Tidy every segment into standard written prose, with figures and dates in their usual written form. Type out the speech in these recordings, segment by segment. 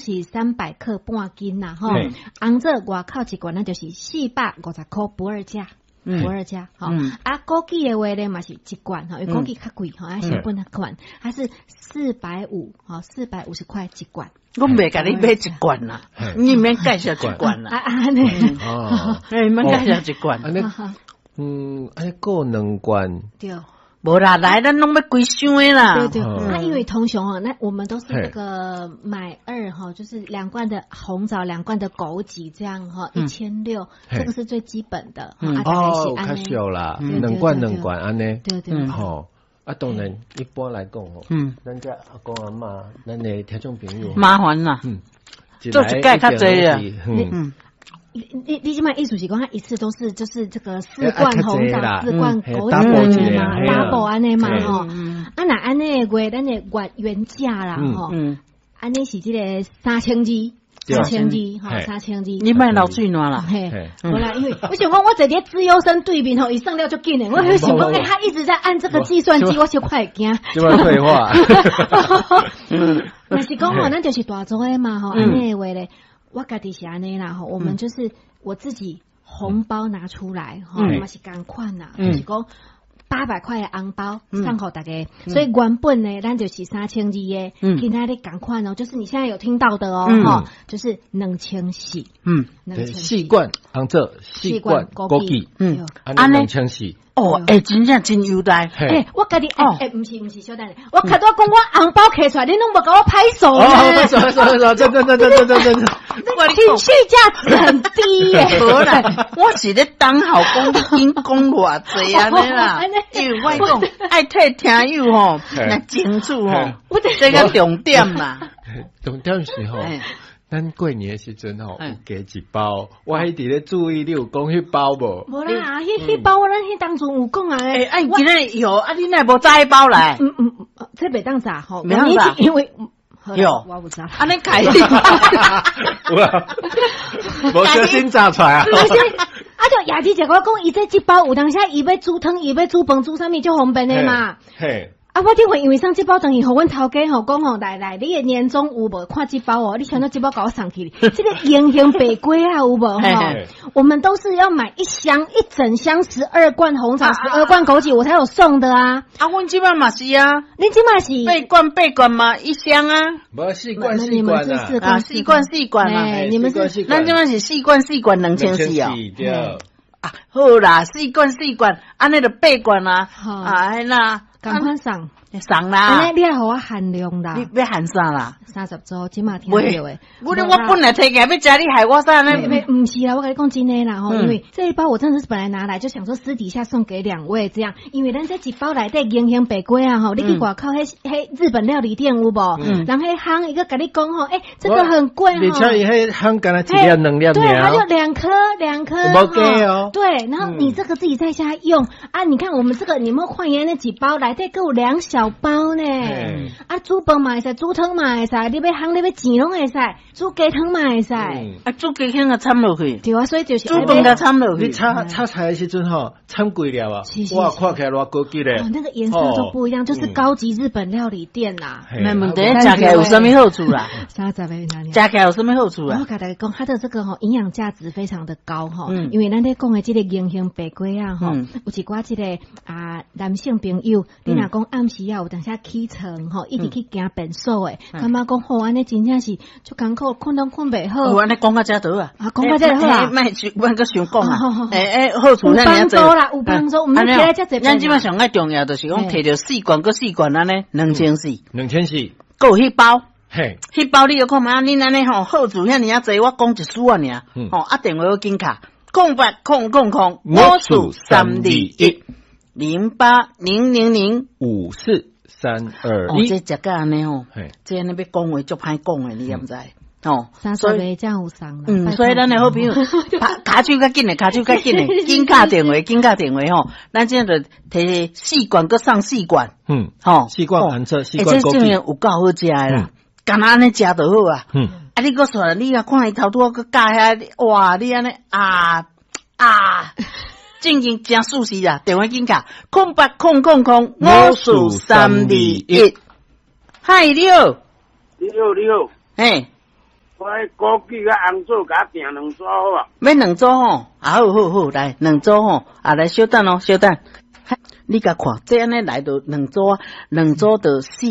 是300克半斤啦，吼。紅棗外口一罐，咱就是450塊不二價。不二價，吼。啊，枸杞的話咧嘛是一罐，吼，因為枸杞較貴，吼，啊，成本較懸，它是四百五，吼，450塊一罐。我袂共你買一罐啦，你免介紹一罐啦。啊啊，呢？哦，你免介紹一罐。按呢，按呢閣兩罐。對。無啦，來咱攏欲規箱的啦。對對，啊，因為通常哦，那我們都是那個買二哈，就是兩罐的紅棗，兩罐的枸杞這樣哈，1600，這個是最基本的。哦，較俗啦，兩罐兩罐按呢。對對。吼，啊，當然一般來講吼，咱遮阿公阿嬤，咱的聽眾朋友麻煩啦，做一擺較濟啊，嗯。你這擺意思是講，他一次都是就是這個四罐紅棗，四罐枸杞嘛，double 按呢嘛吼。啊，若按呢的話，咱的月原價啦吼。按呢是這個三千二，三千二吼，三千二。你莫流喙瀾啦。嘿，無啦，因為我想講，我坐佇資優生對面吼，伊算了足緊的。我想講，欸，他一直在按這個計算機，我就快驚。這擺廢話。若是講吼，咱就是大組的嘛吼，按呢的話咧。我家己是按呢啦吼，我們就是我自己紅包拿出來吼，嘛是仝款啦，就是講800塊的紅包送予大家，所以原本呢，咱就是3200的，今仔日仝款哦，就是你現在有聽到的哦，吼，就是2400，四罐紅棗，四罐枸杞，按呢2400。哦，欸，真正真優待。欸，我家己，欸欸，毋是毋是，小等下，我較拄講我紅包摕出來，你攏無共我拍手呢？拍手拍手拍手，真真真真真真真。情緒價值很低耶。無啦，我是咧等候講你已經講偌濟按呢啦，因為我講愛替聽友吼來清楚吼，這個重點嘛。重點是吼。咱過年的時陣吼，有加一包，我一直咧注意你有講彼包無？無啦，彼包咱彼當陣有講啊。欸，啊，今仔有啊，你哪無炸彼包來？嗯嗯，這袂當炸吼，袂當炸，因為有，我有炸。按呢開，有啊，無小心炸出來啊！啊，就雅琪姐我講，伊這一包有當時伊欲煮湯，伊欲煮飯，煮啥物足方便的嘛。嘿。啊！我頂回因為送這包轉去，予阮頭家吼講吼，來來，你的年終有無？看這包哦，你想到這包共我送去，這個銀杏白粿啊有無吼？我們都是要買一箱一整箱12罐紅棗，12罐枸杞，我才有送的啊！啊，阮這擺嘛是啊，你這擺是八罐八罐嘛，一箱啊？無四罐四罐啊，四罐四罐嘛，你們是咱這擺是四罐四罐2400哦。對。啊，好啦，四罐四罐，按呢就八罐啊，啊，那。仝款送送啦！你愛予我限量啦！你欲限啥啦？30組，這馬聽著的。我我本來提起來欲食，你害我啥呢？毋是啦，我共你講真的啦吼，因為這一包我真的是本來拿來就想說私底下送給兩位這樣，因為咱這一包內底銀杏白粿啊吼，你去外口彼彼日本料理店有無？人彼烘伊閣共你講吼，欸，這個很貴吼。而且伊彼烘敢若一粒兩粒。對，它就兩顆兩顆。無加哦。對，然後你這個自己在家用啊？你看我們這個，你們換言那幾包內底閣有兩小包呢。啊，煮飯嘛會使，煮湯嘛會使，你欲烘你欲煎攏會使，煮雞湯嘛會使。啊，煮雞湯也摻落去。對啊，所以就是煮飯共摻落去。你炒炒菜的時陣吼，摻幾粒啊？哇，看起來偌高級咧。哦，那個顏色都不一樣，就是高級日本料理店啦。沒問題，食起來有啥物好處啦？ 30個哪裡？食起來有啥物好處啊？我共大家講，它的這個吼營養價值非常的高吼，因為咱咧講的這個銀杏白粿啊吼，有一寡這個啊男性朋友，你若講暗時啊有當時起床吼，一直去行便所的，感覺講吼按呢真正是足艱苦，睏攏睏袂好。按呢講到遮就好啊，啊講到遮就好啊。莫莫閣想講啊，欸欸，好處有幫助啦，有幫助，毋免起來遮濟。咱這擺上愛重要就是講，提著四罐閣四罐按呢，兩千四，兩千四，閣有彼包。嘿，彼包你著看覓啊？恁按呢吼好處遐爾仔濟，我講一絲仔爾，吼啊電話閣緊敲，0800054321 08000 54321，哦，這食甲按呢吼，這按呢欲講話足歹講的，你敢知？吼， 30个才有送啦。嗯，所以咱的好朋友，拍跤手較緊的，跤手較緊的，緊敲電話，緊敲電話吼。咱這就提四罐，閣送四罐。吼，四罐紅棗，四罐枸杞。這種有夠好食的啦，干焦按呢食就好啊。啊，你閣煞，你若看伊頭拄仔閣咬遐，哇，你按呢啊啊，正經誠舒適啊！電話緊敲，0800054321。嗨，你好，你好，你好，嘿。我枸杞佮紅棗共我訂兩組好無？欲兩組吼，啊好好好，來兩組吼，啊來小等哦，小等。你共看，這按呢來著兩組啊，兩組著四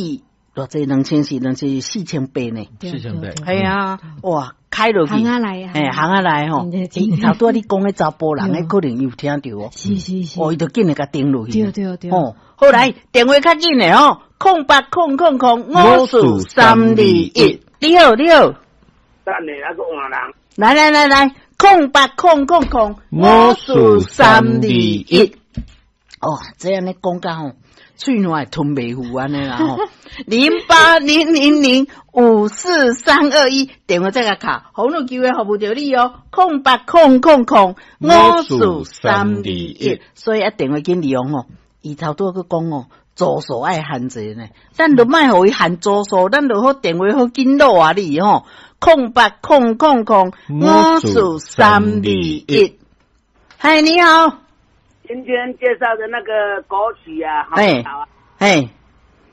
偌濟，2400，2400、4800呢。4800。係啊，哇，開落去，行啊來，嘿，行啊來吼。頭拄仔你講彼查埔人，彼可能伊有聽著哦。是是是。哦，伊就緊來共訂落去。對對對。哦，好來，電話較緊的吼，0800054321。你好，你好。等下還閣換人。來來來來，0800054321。哦，這按呢講甲吼，喙瀾會吞袂赴按呢啦吼。0800054321，電話再共敲，洪女球會服務著你哦。0800054321，所以啊，電話緊利用吼，伊頭拄仔閣講哦，組數愛限制呢，咱就莫予伊限組數，咱就好電話好緊擼啊你吼。0800054321，嗨，你好。今天介紹的那個枸杞啊，好啊，哎，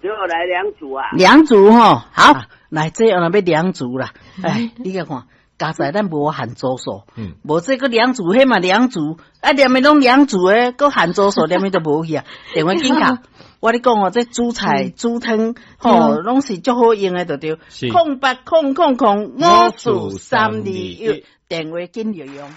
給我來兩組啊，兩組吼，好，來這樣欲兩組啦，哎，你共看，佳哉咱無限組數，無這閣兩組，彼嘛兩組，啊，連的攏兩組的，閣限組數，連的都無去啊，電話緊敲，我咧講哦，這煮菜煮湯吼，攏是足好用的，就對，0800054321，電話緊利用。